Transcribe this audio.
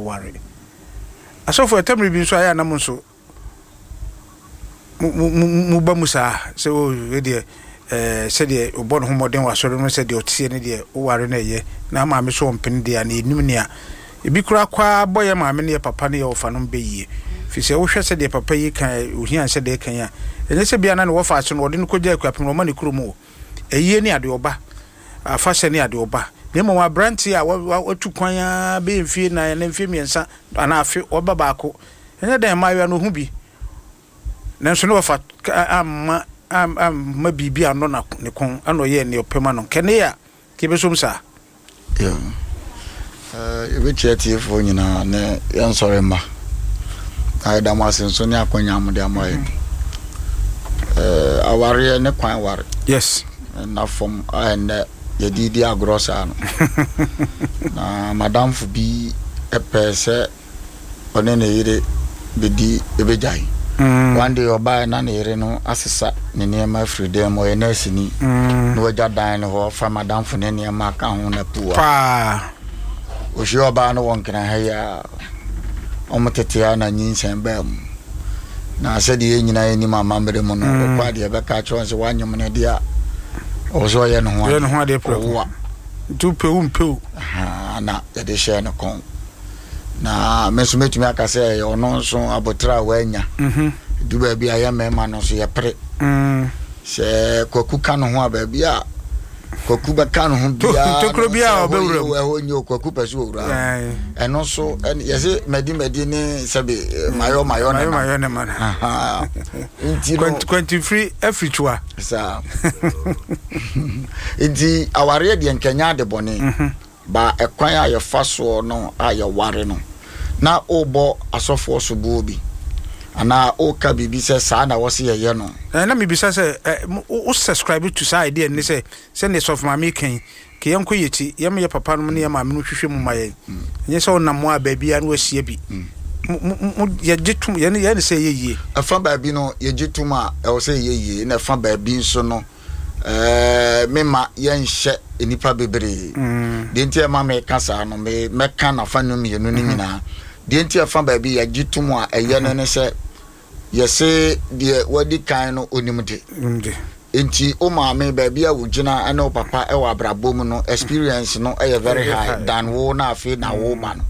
aware. Asɔfo, ɛtɔ mmere bi nso a ɛyɛ a na mo nso mo mo mo mo ba mu saa sɛ o wei deɛ ɛɛ sɛdeɛ ɔbɔ ne ho mmɔden wɔ asɔre no sɛdeɛ ɔteɛ ne deɛ woware no ɛyɛ na maame so ɔmpene deɛ a na yɛnim nea ebi koraa kɔ ara bɔ yɛ maame ne yɛ papa ne yɛ ɔfa nom bɛ yie firi sɛ wohwɛ sɛdeɛ papa yi ka ohia sɛdeɛ ɛka yi a ɛnyɛ sɛ bia na ne wɔfa ase no ɔde no kɔgya akuapem no ɔma ne kurom o ayie ne adeɛ ɔba afahyɛ ne adeɛ ɔba na mmom aberanteɛ a watu kwan ara bɛyɛ mfie nan anaa mfie mmiɛnsa anaa afe ɔba baako ɛnyɛ dɛn mmaayewa no ɔhu bi nanso ne wɔfa amma amma biribi annɔ na ne kɔn ɛna ɔyɛɛ nea ɔpɛ ma no nkɛne a kɛbɛsom saa. Yɛbɛkyia atiefoɔ nyinaa ne yɛn nsɔre mma. Na yɛda mo ase nso ne akwanya a mode ama yɛn. Awareɛ ne kwan ware. Yes. Na fam a ɛnnɛ yɛde di agorɔ saa no. Na madamfo bi pɛɛ sɛ ɔne ne yere bɛdi bɛgyae. Mm. One day ɔbaeɛ na ne yere no asesa ne nneɛma afiri dan mu, ɔyɛ nɛɛseni. Mm. Na wagya dan no hɔ fa madamfo ne nneɛma aka ho na pua. Paa. Ɔhyia ɔbaa no wɔ Nkran ha yi a, wɔn tete a na nyinsɛn baa mu. Na sɛdeɛ yɛn nyinaa yɛnim amammerɛ mu no, mm. ɔkɔ adeɛ bɛka akyerɛ wɔn sɛ wanyem no deɛ a, ɔwɔ sɛ ɔyɛ ne ho adeɛ. Ɔwo a. Nti wopɛ wo mpɛ o. Na yɛde hyɛɛ no kɔn. Na me nso mɛtumi aka sɛ ɛyɛ ɔno nso aboterɛ a wanya. Mhm. Du baabi a yɛ mmarima no nso yɛpere. Mm. Sɛ kwaku ka ne ho a baabi a kwaku bɛka ne ho biara tokuro biara ɔbɛwura mu ɛhɔ nyɛ kwaku pɛ so ɔwura ɛno nso yɛse madi madi ne sɛbe mm. mayɔ mayɔ ne mayɔ ne ma nti no kwantifiri afiri twa saa nti awareɛ deɛ nkɛnyɛ ade bɔne mhm. Ba ɛkwan a yɛfa soɔ no a yɛware no, na worebɔ asɔfoɔ soboɔ bi, anaa woreka biribi sɛ saa na wɔse yɛyɛ no. Na mebisa sɛ, ɛ, wo subscribe to saa idea no ne sɛ, sɛdeɛ Sɔfo Maame reka yi, nka yɛnkɔ yɛn akyi, yɛma yɛn papa nom ne yɛn maame nom hwehwɛ mu ma yɛn. Ɛnyɛ sɛ wonam hɔ a baabiara na woahyia bi. Mo, mo, mo, yɛgye tom, yɛn, yɛn ne sɛ ɛyɛ yie. Ɛfa baabi no, yɛgye tom a ɛwɔ sɛ ɛyɛ yie, na ɛfa baabi nso no, Ɛɛ, memma yɛnhyɛ nnipa bebree. Mm. Deɛ nti a ɛma meka saa no, me mɛka n'afa no mmienu no mm-hmm. nyinaa. Deɛ nti ɛfa baabi yɛgye tom a ɛyɛ no ne sɛ yɛse deɛ wadi kan no onim de. Nti wo maame baabi a wogyina ne wo papa wɔ abrabɔ mu no experience no yɛ very high than wo na afei na wo ba no.